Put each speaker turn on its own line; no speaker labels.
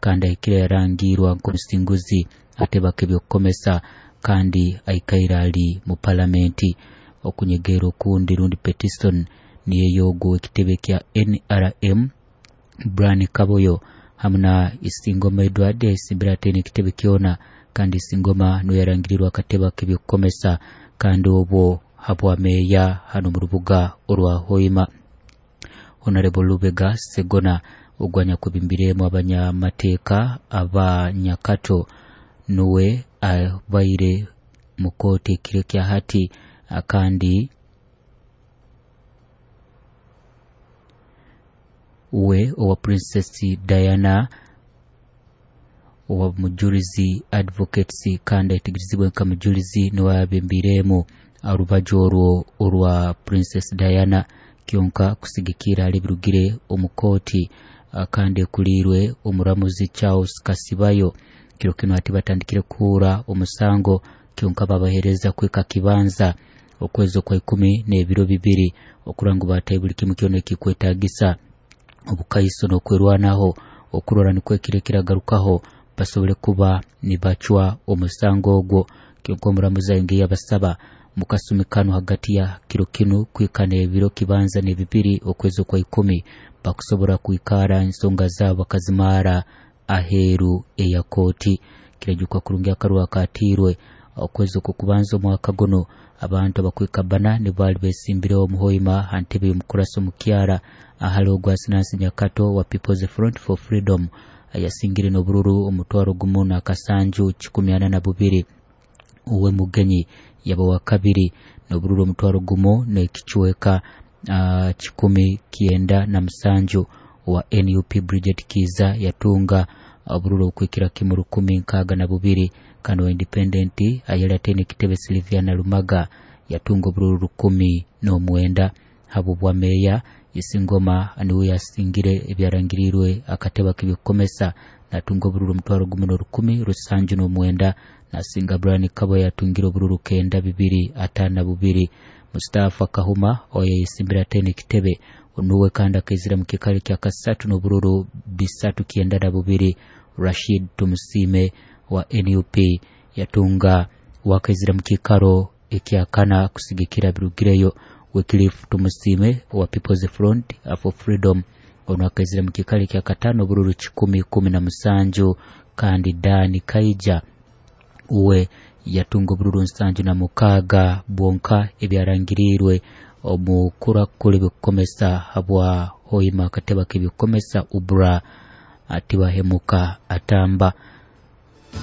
Kandi ahikire yarangiirwa nk'omusinguzi ateba k'ebyokukomesa kandi aikaire ali mu palamenti. Okunyegeera okundi rundi petition niyo ey'ogu ow'ekitebe kya NRM Brian Kaboyo hamu na Isingoma Edward ayesimbire ataine ekitebe kyona kandi Isingoma nuwe yarangirirwe akatebe ak'ebyokukomesa kandi obwo habwa meeya hanu omu rubuga orwa Hoima. Honorable Lubega Ssegona ogu anyakwebembireemu abanyamateeka aba Nyakato nuwe abaire mu kooti ekiro ekya hati kandi uwe owa Princess Diana owa Mujurizi Advocates kandi ayetegerezibwe nka Mujulizi nuwe ayebembireemu orubaju orwo orwa Princess Diana kyonka kusigikirra hali ebirugire omu kooti kandi ekuliirwe omuramuzi Charles Kasibayo. Kiro kinu hati batandikire kuhuura omusango kyonka babahereza kwika kibanza okwezi okwa ikumi n'ebiro bibiri okurora ngu batayo buli kimu kyona ekikwetagisa obukaiso n'okwerwanaho okurora nukwo ekiro ekiragarukaho basobole kuba nibacwa omusango ogwo. Kyonka omuramuzi ayongeire yabasaba mu kasumi kanu hagati ya kiro kinu kwika n'ebiro kibanza n'ebibiri okwezi okwa ikumi bakusobora kwikara ensonga zaabo bakazimara aheeru eya kooti. Kirajukwa kurungi akaruru akaatiirwe okwezi okw'okubanza omwaka gunu abantu abakwika bbana nibo baali besimbireho omu Hoima ha ntebe y'omukurasi omukyara ahali ogwa Sinansi Nyakato owa People's Front for Freedom ayasingire n'obururu omutwaro gumu n'akasanju kikumi ana na bubiri. Uwe Mugenyi yaba wa kabiri n'obururu omutwaro gumu n'ekicweka 907. Owa NUP Bridget Kiiza yatunga obururu obukwikira kimu 1062 kandi owa Independent ayali ataine ekitebe Sylviana Lumaga yatunga obururu 1009. Habw'obwa meeya Isingoma niwe yasingire ebyarangiriirwe akatebe ak'ebyokukomesa natunga obururu omutwaro gumu n'orukumi rusanju n'omwenda nasinga Brian Kabo yatungire obururu 9252. Mustafa Kahuma oyo yayesimbire ataine ekitebe nuwe kandi akaizira mu kiikaro ekya kasatu n'obururu 392. Rashid Tumusiime wa NUP yatunga wakaizira mu kiikaro ekya kana kusigikira birugireyo. Wycliffe Tumusiime owa People's Front for Freedom onu akaizira mu kiikaro ekya kataano obururu 117 kandi Dan Kaija uwe yatunga obururu 76 bwonka ebyarangiriirwe omu kurakura ebyokukomesa habwa Hoima akatebe ak'ebyokukomesa Ubra Tibahemuka Atamba.